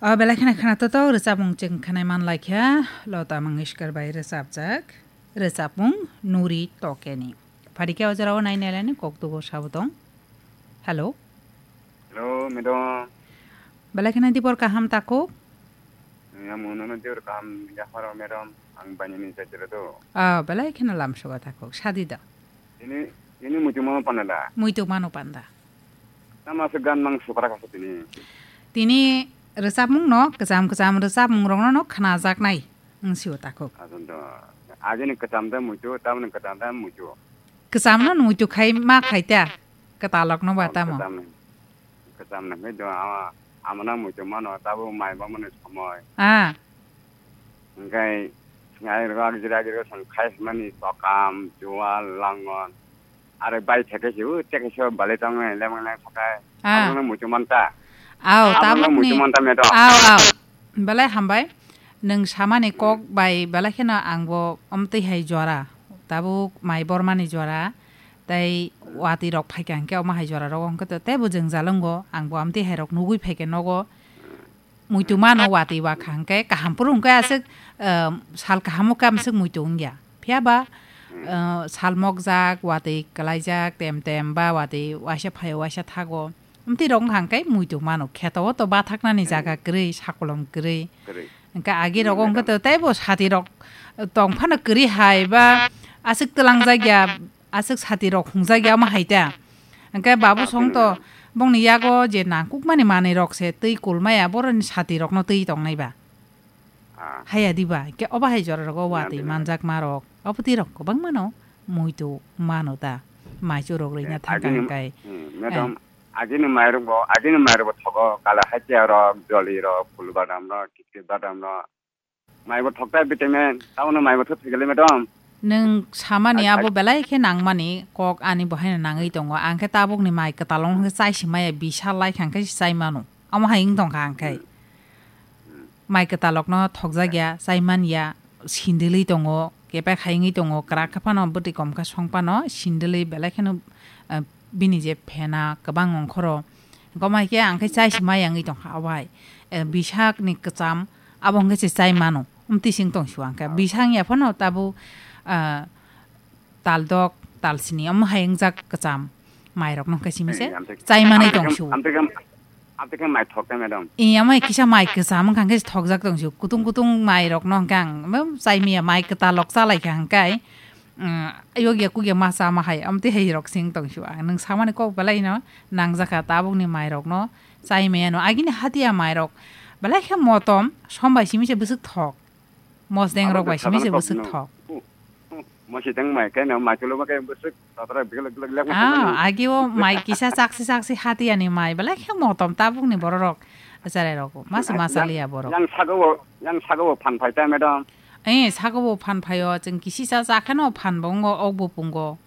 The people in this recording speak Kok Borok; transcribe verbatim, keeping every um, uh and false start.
O belai kheno khwnathok rwchapmung chwng khwnai man laikha, Lota Mangeshkar bai rwchapjak rwchapmung Nuri Tokeni. Phadikhe o jorao nai nailani kok tubo sabo tong. Hello. Hello, madam. Belai kheno dibor kaham takhuk? Yang munono dibor kaham yapharo, madam. Ang banini jatira do. Ah, belai kheno lamsogo takhuk. Sadi da. Ini, ini muitu mano panda da. Muitu mano panda. Tama se gan mang supra kasa tini. Tini rwchapmung no, kwcham kwcham rwchapmung rokno no khnajaknai wng sio takhuk. Ajon do. Agini kwcham da muitu, tamni kwcham da muitu. Kwcham no muitu khai ma khai ta, kwtalok no ba tamo. Kwcham ni. Kwcham ni khai do ama, amana muitu mano, tabo mai ba mani somoi. Ah. Hingkai, ngai rok jira jira sang khai mani tokam, jual, langon. Are bai theke si, u theke si, bale tong nai, lemang lang sakai. Ah. Abang nang muitu manta. Aw, Abang nang tabuk muitu ni. Manta meto. Aw, aw. Belai hambai. Nwng samani kok bai belai kheno ang bo omtwi hai jora. Tabuk mai bormani jora. Tai watwi rok phaikha hwnkhe omo hai jora rok hwnkhe to teibo jwngjal wngo. Ang bo omtwi hai rok nugwi phaikha nogo. Muitu mano watwi wakha hwnkhe kaham phuru hwnkhe aswk, ah, sal kaham o khe amswk muitu wngya. Phiya ba, ah, sal mokjak, watwi kwlaijak, tem tem ba watwi waisa phaio waisa thago. Amtwi rok wngkha hwnkhe muitu mano. Kheto o to bathaknani jaga kwrwi, sakolom kwrwi. Kwrwi. Hwnkhe agi rok wngkhe to teibo sati rok tong phano kwrwi hai ba aswk twlang jakya. Aswk sati rok hungjak ya omo hai ta. Hwnkhe babu song to bongni yago je nangkukmani manwi rok se twi kulmaya boroni sati rokno twi tongnai ba. Ah. Haya di ba, hwnkhe obo hai jora rogo watwi manjakma rok, obo twi rok kwbangma no muitu mano ta. Maichu rok rwina thangkha agini, hwnkhe. Hmm, madam, agini mairok bo, agini mairok bo thogo, kala hachia rok, joli rok, phul badam rok, kitkit badam rok. Maibo thokta vitamin, tabono maibo thok thwikali madam. Nwng samani abo belai khe nangmani kok ani bo haino nangwi tongo. Ang khe tabukni mai kwtalong hwnkhe chai si maya bisa lai kha hwnkhe si chai mano. Amo hai wng tong kha ang khe. Hmm. Mai kwtalokno thokjak ya, chai man ya, sindilwi tongo. Kepek hai wngwi tongo. Kwrak khe phano bwtwi kom khe song phano sindilwi belai kheno, eh, bini je phena kwbang ongkhoro. Gomai khe ang khe chai si maya wngwi tong kha abo hai. Eh, bisakni kwcham. Abo hwnkhe se chai mano. Amtwi sing tong su ang khe. Bisang ya phano tabuk, ah, tal dok, tal sini, omo hai wngjak kwcham. Mai rok no hwnkhe simi se chai manai tong su. Amtwi khe, amtwi khe mai thok ta madam. Iya mai kisa mai kwcham wngkha hwnkhe thokjak tong su. Kutung kutung mai rok no hwnkhe ang, mm, chai maya mai kwtal rok cha lai kha hwnkhe. Mm, yokya kukya ma cha ma hai, amtwi hai rok sing tong su. Ang nwng samani kok belai no nangjakha tabukni mai rok no. Chai maya no agini hatiya mai rok belai khe motom, som bai simi se bwswk thok. Mosdeng rok bai simi se bwswk thok. Mosdeng mai khe no mai cholo ma khe bwswk tatra biglak biglak lek ma. Ah, agi o mai kisa chaksi chaksi hatiya ni mai belai khe motom tabukni borok rok. Acharai rok masa masa liya borok. Yang sago bo, yang sago bo phan phai ta madam. Eh, sago bo phan phaio, chwng kisi cha cha kheno phan bo wngo, ok bo pungo.